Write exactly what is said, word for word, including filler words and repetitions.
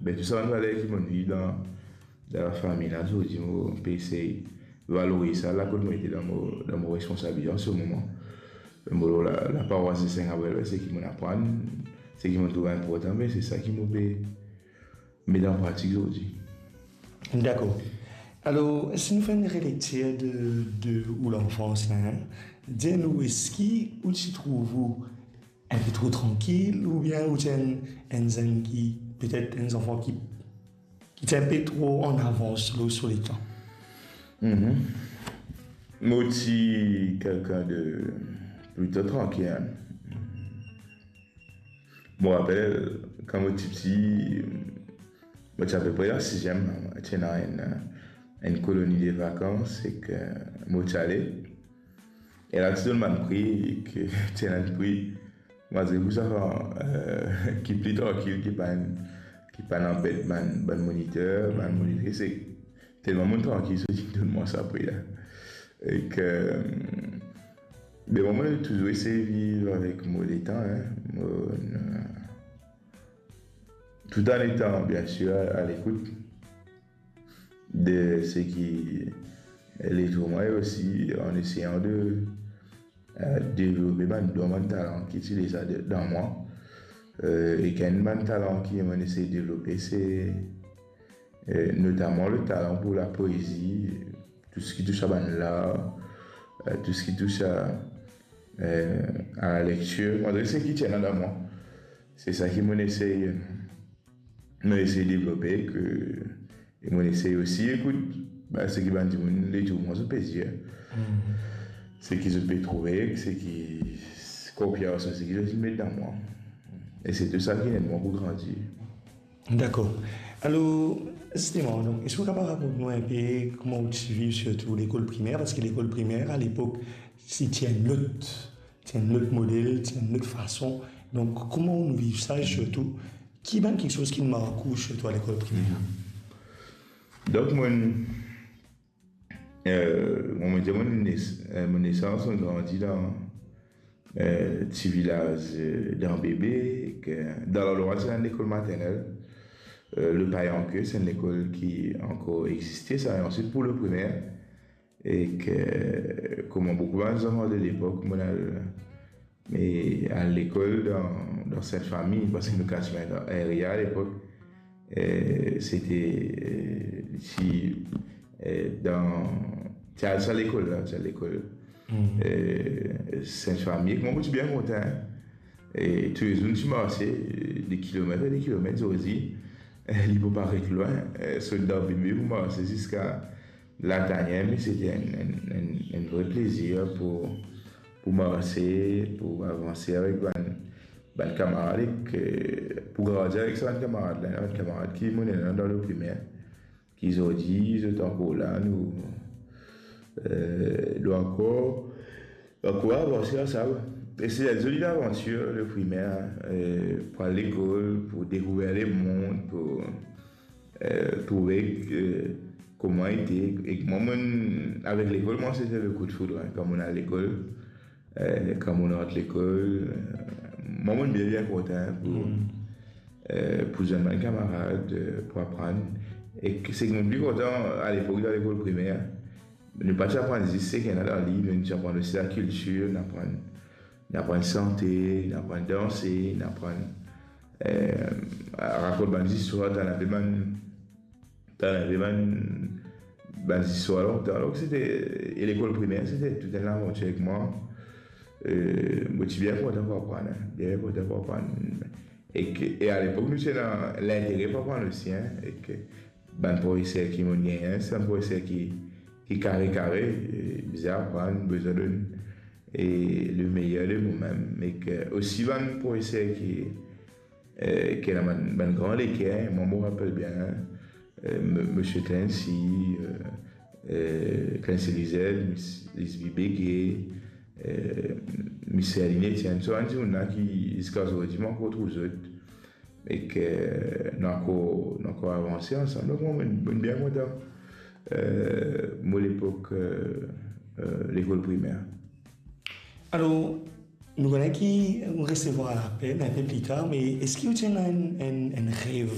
Be tou sa bann valer ki mo'nn viv dan, dan lafami la, zordi mo pe esey valoriz sa la kot mo ete dan mo, dan mo responsabilite an se moman. Mo, la, laparos de Saint Gabriel, be seki mo'nn aprann, seki mo'nn trouv inportan, be se sa ki mo pe met an pratik zordi. Dakor. Alor, si nou fer enn relektir de, de ou lanfans la, dir nou, eski ou ti trouv ou enpe tro trankil, oubien ou ti enn, enn zenn ki, petet enn zanfan ki, ki ti enpe tro an avans lor so letan? Mhm. Mo ti kelkenn de plito trankil, hein. Mo rapel, kan mo ti piti, mo ti apepre an siziem, ti ena enn, enn koloni de vakans, ek mo ti ale. E la ti donn bann pri, ek ti ena enn pri, malgre tou sa, eh, ki pli trankil, ki pa'nn, ki pa'nn anbet bann, bann moniter, bann monitris, ek telman mo'nn trankil, so ti donn mwa sa pri la. Ek, eh, be mwa, mo'nn touzour esey viv avek mo letan, hein. Mo'nn, eh, tout an etan, bien sir, a, a lekout de seki les ouvriers osi, an eseyan de, eh, devlope bann don, bann talan ki ti deza de, dan mwa. Eh, ek enn bann talan ki mo'nn esey devlope, se, eh, notaman le talan pou lapoezi, tou seki tous a bann lar, eh, tou seki tous a, eh, a lalektir. Mo dir seki ti ena dan mwa. Se sa ki mo'nn esey, mo'nn esey devlope, ke, e mo'nn esey osi ekout, ba, seki bann dimoun letour mwa zot pe dir, seki zot pe trouve, seki konfyans, seki zot inn met dan mwa. E se tou sa ki inn ed mwa pou grandi. Dakor. Alor, zisteman, donk, eski ou kapav rakont nou enpe kouma ou ti viv sirtou lekol primer? Parski lekol primer, a lepok, si ti enn lot, ti enn lot model, ti enn lot fason. Donk, kouma ou viv sa, e sirtou, ki bann kiksoz ki mark ou, sirtou a lekol primer? Donk, mo'nn, eh, mo'nn dir, mo'nn nes-, eh, mo nesans, mo'nn grandi dan, eh, ti vilaz, eh, dan Bebe, ke, dan landrwa ti ena lekol maternel. Eh, le Payanke, se enn lekol ki ankor existe, sa, e answit pou le primer, ek, eh, kouma boukou bann zanfan de lepok, mo'nn al, me al lekol dan, dan Sint Fami, parski nou katiman dan area a lepok, eh, sete, eh, ti, eh, dan, ti al sa lekol la, ti al lekol, eh, Sint Fami, ek mwa, mo ti bien kontan, hein. E toulezour nou ti marse, eh, de kilomet e de kilomet, zordi, eh, li pou paret lwin, eh, sot dan Bebe pou marse ziska Latanier, me sete enn, enn, enn, enn vre plezir pou, pou marse, pou avanse avek bann, bann kamarad, ek, eh, pou grandi avek sa bann kamarad la, bann kamarad ki mo'nn ena dan le primer, ki zordi zot ankor la, nou, eh, nou ankor, ankor avanse ansam. E se enn zoli lavantir, le primer, eh, pou al lekol, pou dekouver lemond, pou, eh, trouve, eh, kouma ete. Ek mwa, mo'nn, avek lekol, mwa, sete le coup de foudre, hein, kan mo'nn al lekol, eh, kan mo'nn rant lekol, eh, mwa, mo'nn bien, bien kontan pou, eh, pou zwenn bann kamarad, eh, pou aprann. Ek seki mo'nn pli kontan a lepok dan lekol primer, nou pa ti aprann zis seki ena dan liv, me nou ti aprann osi lakiltir, nou aprann, nou aprann sante, nou aprann danse, nou aprann, eh, rakont bann zistwar, tann enpe bann, tann enpe bann, bann zistwar lontan. Donk, sete, e lekol primer, sete tou enn lavantir avek mwa. Eh, mo ti bien kontan pou aprann, hein, bien kontan pou aprann. Ek, e a lepok, nou ti ena lintere pou aprann osi, hein, ek bann profeser ki mo'nn gagn, se bann profeser ki, ki kare kare, eh, bizin aprann, bizin donn, e le meyer de momem. Ek osi bann profeser ki, eh, ki ena bann, bann gran leker, mwa, mo rapel bien, eh, m-, Misie Clancy, eh, eh, Clancy Lizette, Miss Lisby Béguet, eh, Misie Aline Etienne, so bann dimoun la ki, ziska zordi, mo ankor trouv zot, ek nou ankor, nou ankor avanse ansam. Donk, mwa, mo'nn, mo'nn bien kontan, eh, mo lepok, eh, eh, lekol primer. Alor, nou kone ki ou resevwar lapel enpe pli tar, me eski ou ti ena enn, enn, enn rev